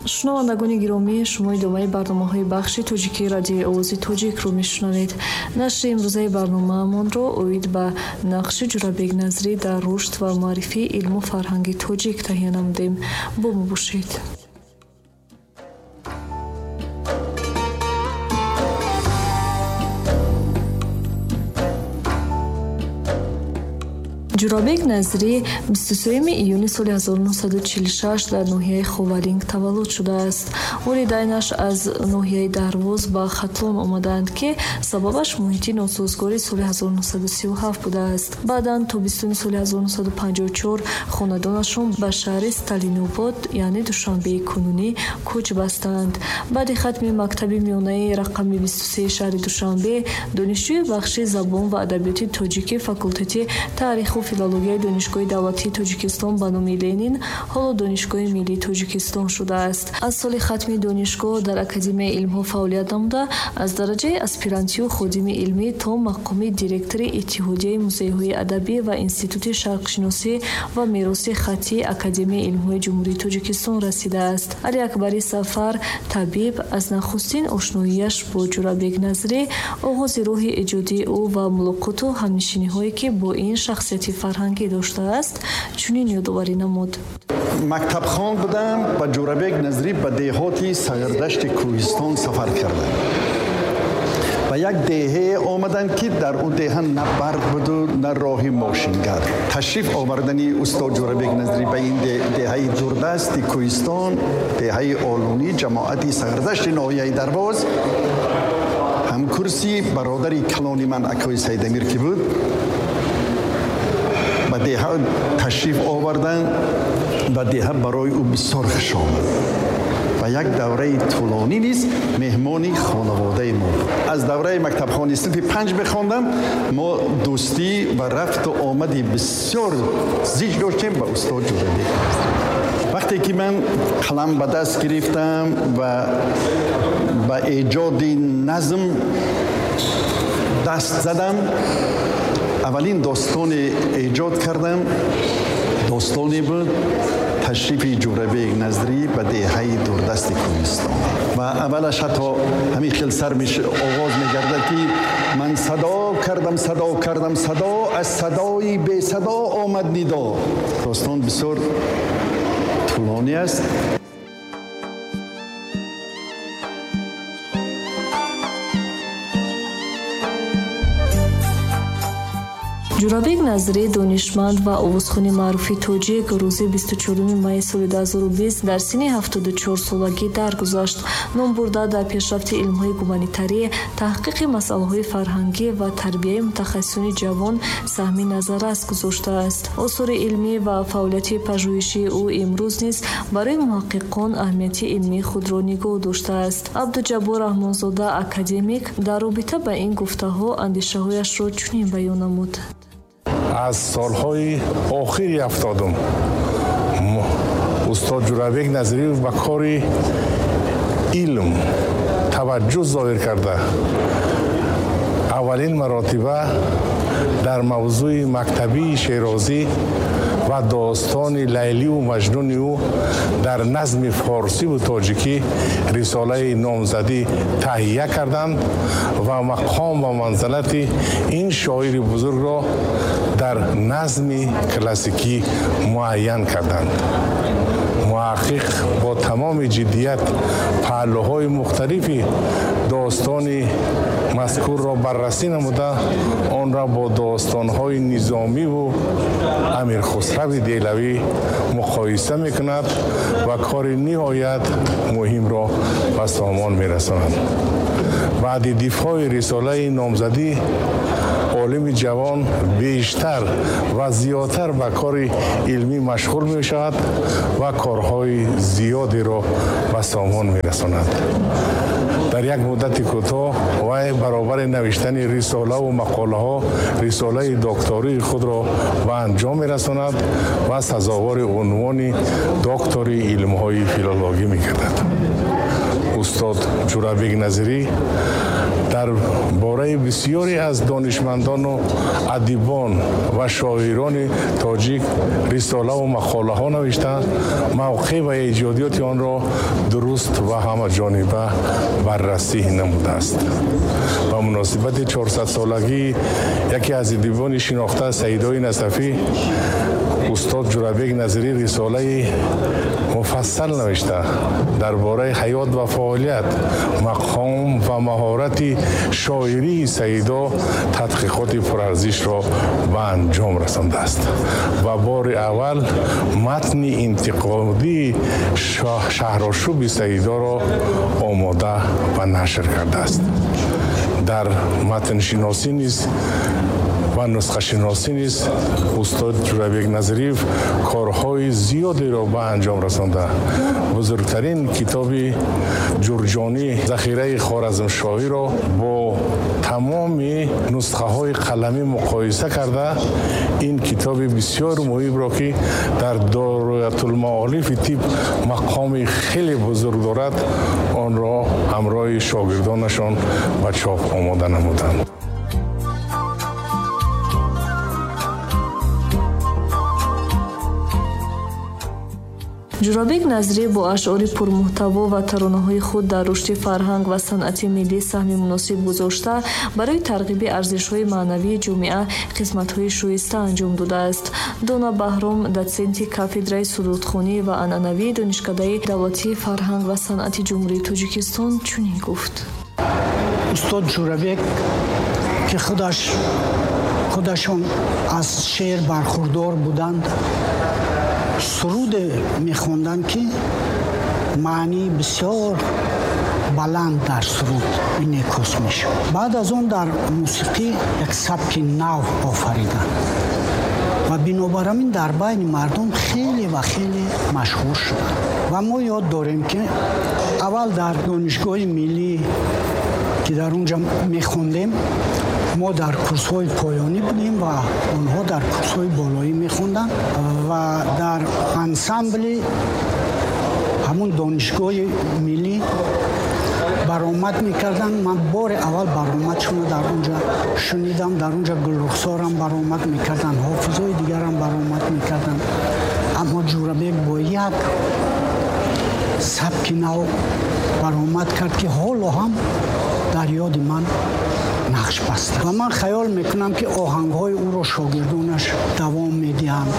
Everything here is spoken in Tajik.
Шунавандагони гиромӣ, шумо идомаи барномаҳои бахши тоҷикии радиои Овози Тоҷикро мешунавед. Нашри имрӯзаи барномаамонро оид ба нақши Ҷӯрабек Назрӣ дар рушд ва муаррифии илму фарҳанги тоҷик таҳия намудем. Бо мо бошед. Ҷӯрабек Назрӣ 23 июни соли 1946 дар ноҳияи Ховалинг таваллуд шудааст. Волидайнаш аз ноҳияи Дарвоз ба Хатлон омадаанд, ки сабабаш муҳити носозгори соли 1937 будааст. Баъдан тобистони соли 1954 хонадонашон ба шаҳри Сталинобод, яъне Душанбеи кунунӣ, кӯч бастанд. Баъди хатми мактаби миёнаи рақами 23 шаҳри Душанбе, донишҷӯи бахши забон ва адабиёти тоҷики факултети таъриху филологияи Донишгоҳи давлатии Тоҷикистон ба номи Ленин, ҳоло Донишгоҳи миллии Тоҷикистон шудааст. Аз соли хатми донишгоҳ дар Академияи илмҳо фаъолият намуда, аз дараҷаи аспирантию ходими илмӣ то мақоми директори Иттиҳодияи музейҳои адабӣ ва Институти шарқшиносӣ ва мероси хаттии Академияи илмҳои Ҷумҳурии Тоҷикистон расидааст. Алиакбари Сафар табиб аз нахустин ошноияш бо Ҷӯрабек Назрӣ, оғози роҳи эҷодии ӯ ва мулоқоту ҳамнишиниҳое, ки бо ин шахсияти фарҳангӣ доштааст, чунин ёдоварӣ намуд. Мактабхон будам, ба Ҷӯрабек Назрӣ ба деҳоти Сағирдашти кӯҳистон сафар кардам. Ба як деҳае омаданд, ки дар он деҳа на барқ буду, на роҳи мошингард. Ташриф овардани устод Ҷӯрабек Назрӣ ба ин деҳаи дурдасти кӯҳистон, деҳаи Олунӣ, ҷамоати Сағирдашти ноҳияи Дарвоз, ҳамкурси бародари калони ман акои Сайдамир ки буд, ба деҳа ташриф оварданд ва деҳа барои ӯ бисёр хуш омад. Ва як давраи тӯлонӣ низ меҳмони хонаводаи мо буд. Аз давраи мактабхони синфи 5 мехондам, мо дӯстӣ ва рафту омади бисёр зич доштем ба устод Ҷӯрабек. Вақте ки ман қалам ба даст гирифтам ва ба эҷоди назм даст задам, аввалин достоне эҷод кардам, достоне буд ташрифи Ҷӯрабек Назрӣ ба деҳаи дурдасти кӯҳистон. Ва аввалаш ҳатто ҳамин хел сар оғоз мегардад, ки ман садо кардам, садо кардам, садо, аз садои бесадо омад нидо. Достон бисёр тӯлонӣ аст. Ҷӯрабек Назрӣ, донишманд ва овозхони маъруфи тоҷик, рӯзи 24 майи соли 2020 дар синни 74 солагӣ даргузашт. Номбурда дар пешрафти илмҳои гуманитарӣ, таҳқиқи масъалаҳои фарҳангӣ ва тарбияи мутахассисони ҷавон саҳми назаррас гузоштааст. Осори илмӣ ва фаъолияти пажӯҳишии ӯ имрӯз низ барои муҳаққиқон аҳамияти илмии худро нигоҳ доштааст. Абдуҷаббор Раҳмонзода, академик, дар робита ба ин гуфтаҳо андешаҳояшро чунин баён намуд. Аз солҳои охири 70 устод Ҷӯрабек Назриев ба кори илм таваҷҷӯҳ зоҳир карда, аввалин маротиба дар мавзӯи мактабии Шерозӣ ва достони Лайливу Маҷнуни ӯ дар назми форсиву тоҷикӣ рисолаи номзадӣ таҳия карданд ва мақом ва манзалати ин шоири бузургро дар назми классикӣ муайян карданд. Муҳаққиқ бо тамоми ҷиддият паҳлӯҳои мухталифи достони мазкурро баррасӣ намуда, онро бо достонҳои Низомиву Амирхусрави Деҳлавӣ муқоиса мекунад ва кори ниҳоят муҳимро ба сомон мерасонад. Баъди дифои рисолаи номзадӣ олими ҷавон бештар ва зиёдтар ба кори илмӣ машғул мешавад ва корҳои зиёдеро ба сомон мерасонад. Дар як муддати кӯтоҳ вай баробари навиштани рисолаву мақолаҳо рисолаи доктории худро ба анҷом мерасонад ва сазовори унвони доктори илмҳои филологӣ мегардад. Устод Ҷурабек Назирӣ дар бораи бисёре аз донишмандону адибон ва шоирони тоҷик рисолаву мақолаҳо навишта, мавқеъ ва эҷодиёти онро дуруст ва ҳамаҷониба баррасӣ намудааст. Ба муносибати 400-солагии яке аз адибони шинохта Саидои Насафӣ устод Ҷурабек Назирӣ рисолаи муфассал навишта, дар бораи ҳаёт ва фаъолият, мақом ва маҳорати шоирии Саидо тадқиқоти пурарзишро ба анҷом расондааст ва бори аввал матни интиқодии Шаҳрошӯби Саидоро омода ва нашр кардааст. Дар матншиносӣ низ ва нусхашиносӣ низ устод Ҷурабек Назириев корҳои зиёдеро ба анҷом расонда. Бузургтарин китоби ҷурҷонӣ Захираи Хоразмшоҳиро бо тамоми нусхаҳои қаламӣ муқоиса карда, ин китоби бисёр муҳимро, ки дар Доираатулмаолифи тиб мақоми хеле бузург дорад, онро ҳамроҳи шогирдонашон ба чоп омода намуданд. Ҷурабек Назирӣ бо ашъори пурмуҳтаво ва таронаҳои худ дар рушди фарҳанг ва санъати миллӣ саҳми муносиб гузошта, барои тарғиби арзишҳои маънавии ҷомеа хизматҳои шоиста анҷом додааст. Дона Баҳром, дотсенти кафедраи сурудхонӣ ва анъанавии Донишкадаи давлатии фарҳанг ва санъати Ҷумҳурии Тоҷикистон чунин гуфт. Устод Ҷурабек, ки худашон аз шеър бархурдор буданд, суруде мехонданд, ки маънии бисёр баланд дар суруд инъикос мешуд. Баъд аз он дар мусиқӣ як сабки нав офариданд ва бинобар ҳамин дар байни мардум хеле ва хеле машҳур шуданд. Ва мо ёд дорем, ки аввал дар Донишгоҳи миллӣ, ки дар он ҷо мехондем, мо дар курсҳои поёнӣ будем ва онҳо дар курсҳои болоӣ мехонданд ва дар ансамбли ҳамун Донишгоҳи миллӣ баромад мекарданд. Ман бори аввал баромадшонро дар он ҷо шунидам. Дар он ҷо Гулрухсорам баромад мекарданд, ҳофизои дигарам баромад мекарданд. Аммо Ҷурабек бо як сабки нав баромад кард, ки ҳоло ҳам дар ёди ман нақш баста. Ва ман хаёл мекунам, ки оҳангҳои ӯро шогирдонаш давом медиҳанд.